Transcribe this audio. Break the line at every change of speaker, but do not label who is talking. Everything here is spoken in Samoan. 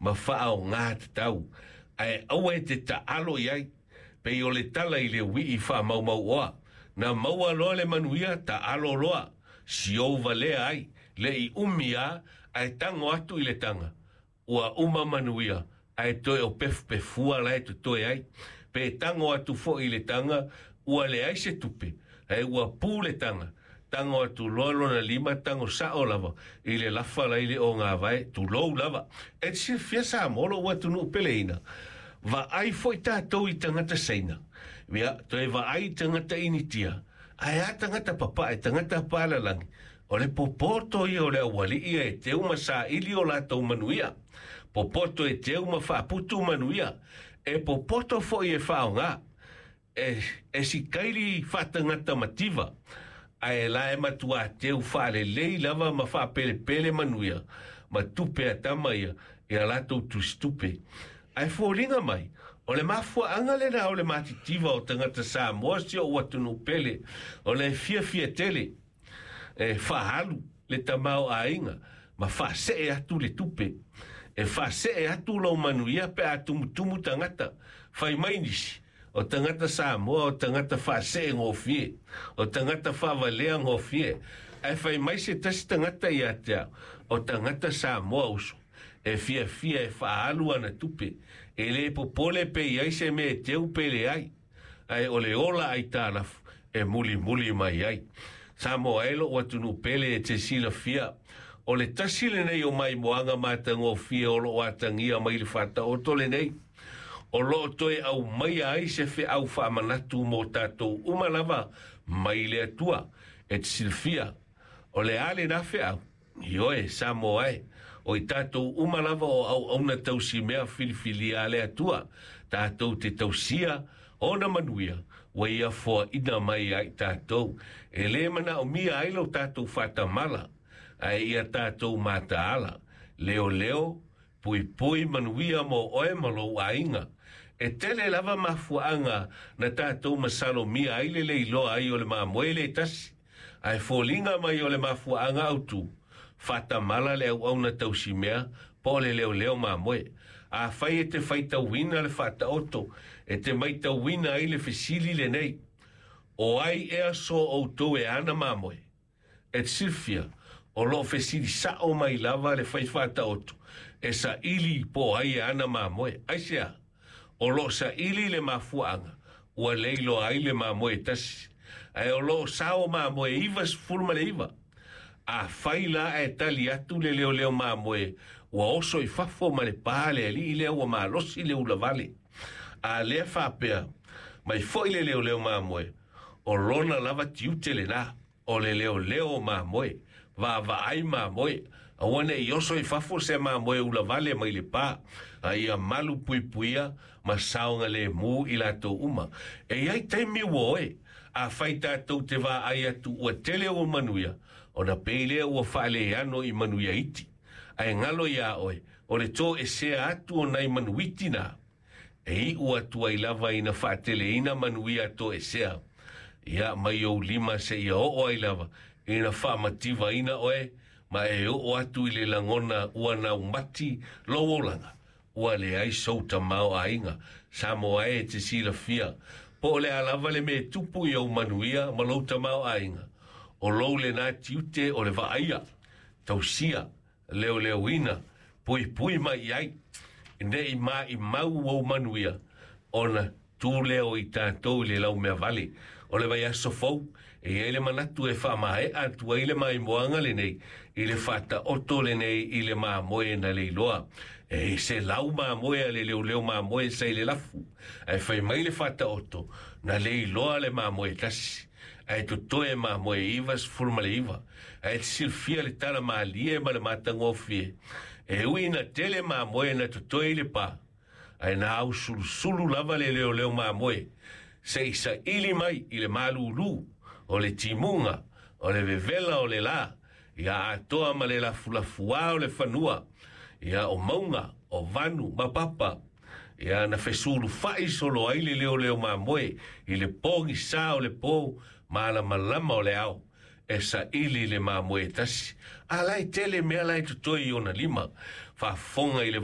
ma faaaogā tatau, ae aua e te taalo i ai, pei o le tala i le uii faamaumauoa, na maua loa le manuia taalo loa, siou valea ai, le'i umi a, ae tago atu i le taga, ua uma manuia, ae toe o pefupefua la e totoe ai. Pe tago atu fo'i i le taga, ua leai se tupe, ae ua pu le taga, tago atu loa lona lima tago sa'o lava i le lafa lai le ogāvae, tulou lava. E te silafia Samoa lo'u atunuu peleina, vaai fo'i tatou i tagata Saina, ia toe vaai i tagata Initia, ae a tagata papae, tagata palalagi, o le popoto ia o le auali'i e teu ma saili o latou manuia, popoto e teu ma faaputu manuia, e popoto fo'i e faaaogā e sikaili faatagata mativa, ae la e matuā teu faalelei lava ma faapelepele manuia ma tupe a tama ia ia latou tusitupe. Ae foliga mai, o le mafuaaga lenā o le matitiva o tagata Samoa si o'u atunuu pele, ona e fiafia tele e faaalu le tamaoaiga ma faasee atu le tupe. E faasee atu lou manuia pe a tumutumu tagata. Fai mai nisi, o tagata Samoa o tagata faasee gofie, o tagata faavalea gofie. Ae fai mai se tasi tagata ia te au, o tagata Samoa uso, e fiafia e faaalu ana tupe, e lē popole pe i ai se mea e teu pe leai, ae o le ola aitalafu e mulimuli mai ai. Samoa e lo'u atunuu pele e te silafia, o le tasi lenei o maimoaga matagofie o lo'o atagia mai le faataoto lenei, o loo toe aumaia ai se feau faamanatu mo tatou uma lava mai le Atua. E te silafia o le a lenā feau? Ioe, Samoa e, o i tatou uma lava o auauna tausimea filifilia a le Atua, tatou te tausia ona manuia ua ia foaina mai ai tatou. E lē manaomia ai lo tatou faatamala, ae ia tatou mataala, leoleo, puipui manuia mo oe ma lou aiga. E tele lava mafuaaga na tatou masalomia ai le leiloa ai o le mamoe le tasi, ae foliga mai o le mafuaaga autū, faatamala le auauna tausimea po o le leoleo mamoe. Afai e te faitauina le faataoto, e te maitauina ai le fesili lenei, o ai ea so outou e ana mamoe? E te silafia, o loo fesili sa'o mai lava le fai faataoto e saili po o ai e ana mamoe. Aisea? O loo saili le mafuaaga ua leiloa ai le mamoe e tasi, ae o loo sao mamoe 99. Afai la ae tali atu le leoleo mamoe, ua oso i fafo ma le pā le alii lea ua malosi le ulavale. A lea faapea mai fo'i le leoleo mamoe, o lona lava tiute lenā, o le leoleo o mamoe, vaavaai mamoe, aua ne'i oso i fafo se mamoe ulavale mai le pā, a ia malu puipuia ma saogalēmū i latou uma. E i ai taimi ua oe, afai tatou te vaai atu ua tele ua manuia, ona pei lea ua faaleano i manuia iti. Ae galo iā oe, o le toesea atu o nai manuiti nā, e iʻu atu ai lava ina faateleina manuia toesea, ia mai ou lima seia oo ai lava ina faamativaina oe ma e oo atu i le lagona ua naumati lou olaga, ua leai sou tamaoaiga. Samoa e, e te silafia, po o le a lava le mea e tupu i ou manuia ma lou tamaoaiga, o lou lenā tiute o le vaaia, tausia, leoleoina, puipui mai i ai, ne'i maʻimau ou manuia, ona tu lea o i tatou i le laumeavale. O le vaiaso fou, e i ai le manatu e faamaeʻa atu ai le maimoaga lenei i le faataoto lenei i le mamoe na leiloa. E se lau mamoe a le leoleo mamoe sa i le lafu, ae fai mai le faataoto, na leiloa le mamoe e tasi, ae totoe mamoe 99. Ae te silafia le tala malie ma le matagofie, e ui ina tele mamoe na totoe i le pā, ae na ausulusulu lava le leoleo mamoe seʻi saili mai i le malūlū o le timuga, o le vevela o le lā, ia atoa ma le lafulafuā o le fanua, ia o mauga, o vanu ma papa, ia na fesulufaʻi solo ai le leoleo mamoe i le pogisā o le pō malamalama o le ao e saili le mamoe e tasi. A la e tele mea la e totoe i ona lima. Faafofoga i le